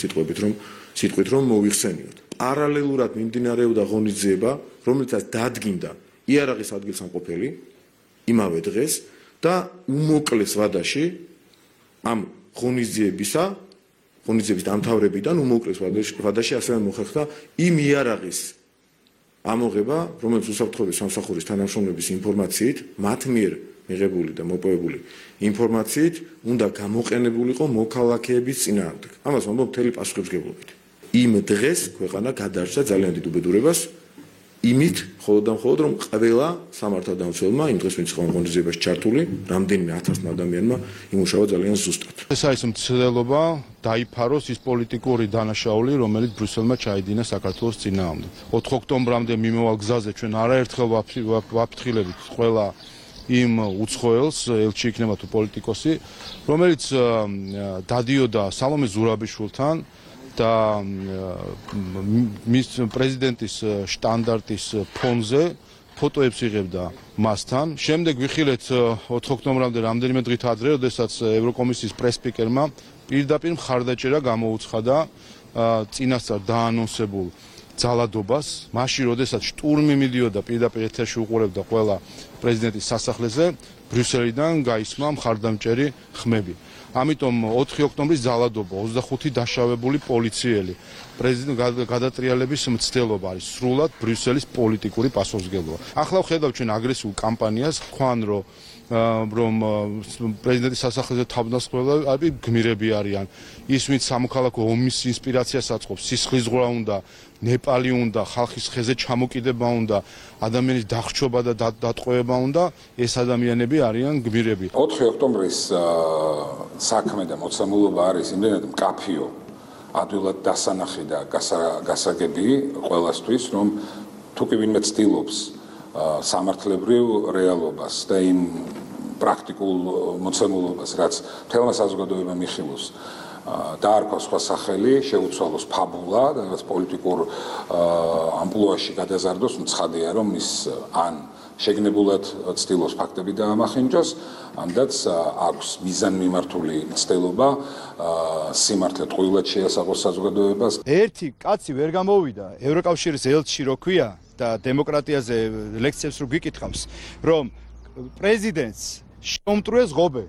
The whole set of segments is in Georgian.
სიტყვით რომ მოიხსენიოთ. პარალელურად მიმდინარეობდა ღონისძიება, რომელიცაც დადგინდა იარაღის ადგილსამყოფელი იმავე დღეს და უმოკლეს ვადაში ამ ღონისძიების დამთავრებიდან უმოკლეს ვადაში ასევე მოხერხდა იმ იარაღის ამოღება, რომელიც უსაფრთხოების სამსახურის თანამშრომლების ინფორმაციით მათ მიერ მიღებული და მოპოვებული ინფორმაციით უნდა გამოყენებულიყო მოქალაქეების წინააღმდეგ. ამას ვამბობ მთელი პასუხისმგებლობით. იმ დღეს ქვეყანა გადარჩა ძალიან დიდ უბედურებას იმით, მხოლოდ და მხოლოდ რომ ყველა სამართალდამცველმა იმ დღეს ვინც ღონისძიებაში ჩართული, რამდენიმე 1000 ადამიანმა იმუშავა ძალიან ზუსტად. ეს არის მცდელობა დაიფაროს ის პოლიტიკური დანაშაული, რომელიც ბრიუსელმა ჩაიდინა საქართველოს წინააღმდეგ. 4 ოქტომბრამდე მიმავალ გზაზე ჩვენ არაერთხელ ვაფრთხილებით ყველა იმ უცხოელს, ელჩი იქნება თუ პოლიტიკოსი, რომელიც დადიოდა სალომე ზურაბიშვილთან და მის პრეზიდენტის შტანდარტის ფონზე ფოტოებს იღებდა მასთან. შემდეგ ვიხილეთ 4 ოქტომბრამდე რამდენიმე დღით ადრე, როდესაც ევროკომისიის პრესპიკერმა პირდაპირ მხარდაჭერა გამოუცხადა წინასწარ დაანონსებულ ძალადობას, მაშინ როდესაც შტურმი მიდიოდა პირდაპირ ეთერში უყურებდა ყველა პრეზიდენტის სასახლეზე, ბრიუსელიდან გაისმა მხარდამჭერი ხმები. ამიტომ 4 ოქტომბრის ძალადობა, 25 დაშავებული პოლიციელი, პრეზიდენტ გადატრიალების მცდელობა არის სრულად ბრიუსელის პოლიტიკური პასუხისმგებლობა. ახლა ვხედავ ჩვენ აგრესიულ კამპანიას, თქვან რომ პრეზიდენტის სასახლეზე თავდასხმელები გმირები არიან. ის ვინც სამოქალაქო ომის ინსპირაციას აწყობს, სისხლისღვრა უნდა, ნეპალი უნდა, ხალხის ხეზე ჩამოკიდება უნდა, ადამიანის დახრჩობა და დატყვევება უნდა, ეს ადამიანები არიან გმირები. 4 ოქტომბრის საქმე და მოცემულობა არის იმდენად მკაფიო, ადვილად დასანახი და გასაგები ყველასთვის, რომ თუ კი ვინმე ცდილობს სამართლებრივ რეალობას და იმ პრაქტიკულ მოცემულობას, რაც მთელმა საზოგადოებამ იხილოს, დაარქვა სხვა სახელი, შეუცვალოს ფაბულა და რაც პოლიტიკურ ამპლუაში გადაზარდოს, მცხადია რომ ის ან შეგნებულად ცდილობს ფაქტები დაამახინჯოს, ამდაც აქვს მიზანმიმართული მცდელობა სიმართლე ტყუილად შეასაღოს საზოგადოებას. ერთი კაცი ვერ გამოვიდა ევროკავშირის ელჩი რო ქვია და დემოკრატიაზე ლექციებს რო გიკითხავს, რომ პრეზიდენტს შეუმტვრიეს ღობე,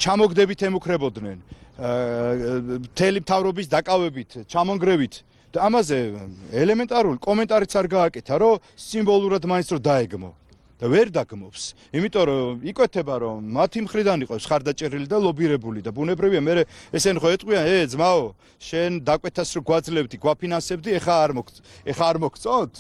ჩამოგდებით ემუქრებოდნენ, მთელი მთავრობის დაკავებით, ჩამონგრევით და ამაზე ელემენტარული კომენტარიც არ გააკეთა, რომ სიმბოლურად მაინც რომ დაეგმო და ვერ დაგმობს. იმიტომ რომ იკვეთება რომ მათი მხრიდან იყოს ხარდაჭერილი და ლობირებული და ბუნებრივია მე ესენი ხო ეტყვიან, ძმაო, შენ დაკვეთას რო გვაძლევდი, გვაფინანსებდი, ეხა არ მოგწონთ?